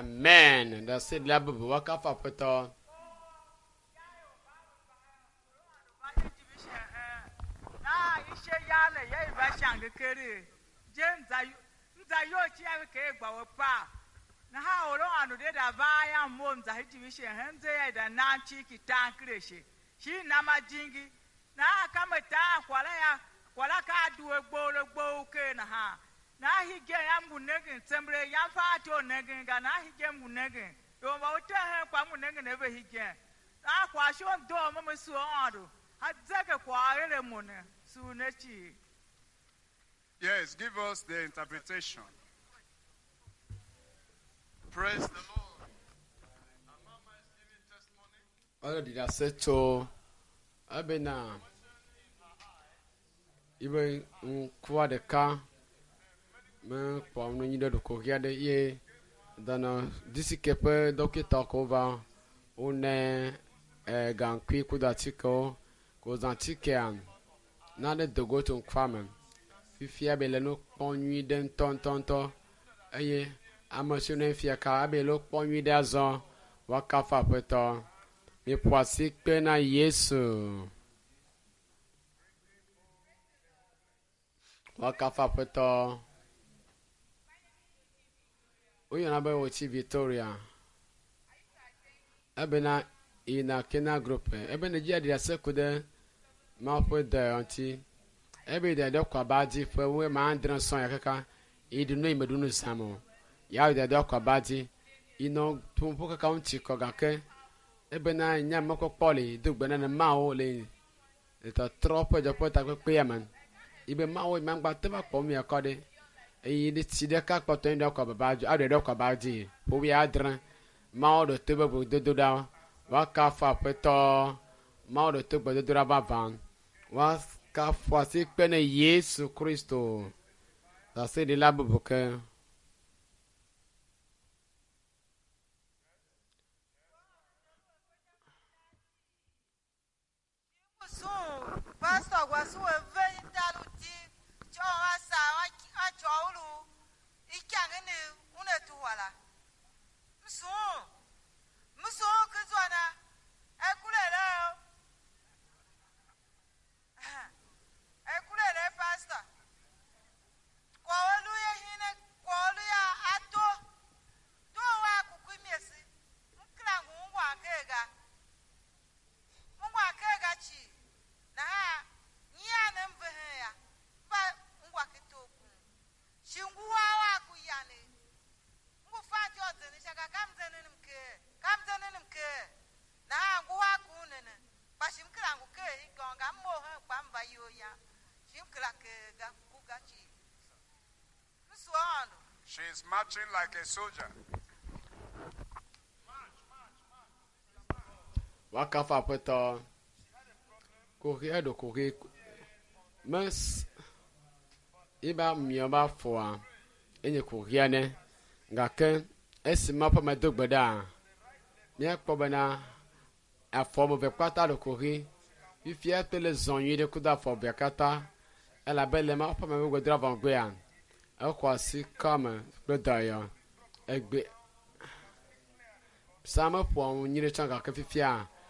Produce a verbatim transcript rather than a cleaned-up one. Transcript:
Amen. Ɖaseɖila bubu woakafu Aƒetɔ. Yes, give us the interpretation. Praise the Lord. And Mama is giving testimony. Ɔlɔ ɖi ɖase tso ebena yibe ŋkua ɖeka mekpɔ nu nyui ɖe ɖokoɣi aɖe ye dɔnɔ disike ƒe dɔkita ko va wone e, gaŋkui kudo atikewo ko zã atikea nane dogo tso ŋkua me. Fifia be le nu kpɔm nyui ɖe ŋutɔŋutɔŋutɔ eye ame siwo ne fia ka ebe le kpɔ nyui ɖe azɔ woakafu Aƒetɔ. Miƒo asi kpe na Yesu. Woakafu Aƒetɔ. Woyɔna be wotsi Victoria. Ebena yina Kena Group. Ebena dzi aɖi ase ku ɖe Mawu ƒe dɔ ŋuti. Ebe yi ɖe kɔ aba dzi ƒe wo ma adre sɔ̃ ya kaka yi ɖu nu yi meɖu nu zãm o. Ya yi ɖe kɔ aba dzi. Yi nɔ ƒoƒo kaka ŋuti kɔ gake ebena nye mɔkpɔkpɔ le do gbe na ne Mawu le le tɔtrɔ ƒe dzɔƒe takpekpea me. Yibe Mawu yi magba te va kpɔ mia kɔ ɖe. Eye ɖe tsi ɖeka kpɔtɔ yi ɖe kɔ baba dzi aɖe ɖe kɔ aba dzi. Ƒowi adre. Mawu ɖo to be gbedodoɖa. Woakafu Aƒetɔ. Mawu ɖo to gbedodoɖa vavã. Woakafu asi kpe ne Yesu Kristo. Ɖaseɖila bubu ke. Pastor gwasu eve ndaluti cho asa acho ulu ikyangene une tuwala msu msu kizwana ekulele ekulele pastor kwa olu ye hine kwa olu ya ato to wa kukwimiesi mklangu ngwa kega ngwa kega chi na ha nyane mvehe ya ba ngwa kitoku shinguwa wa kuyane ngufanti odzene shaka kamdzene nimke kamdzene nimke na ha nguwa kunene bashimkira nguke igonga mohe kwamba yoya shimkira ke ga kugachi msuondo. She is marching like a soldier. Woakafu Aƒetɔ. Kuxi eɖo kuxi mes yiba miɔ ba fɔa enye kuxia ne gake esi Mawu ƒe ame do gbe ɖa míakpɔ bena afɔ ame eve kpata ɖo kuxi. Fifia to le zɔ nyui ɖe kudo afɔ evea katã elabe le Mawu ƒe ame ƒe gbedoɖa vɔ megbea exɔ asi kɔme kple dɔyɔ. Egbe sa meƒoa nu nyui ɖe tsã gake fifia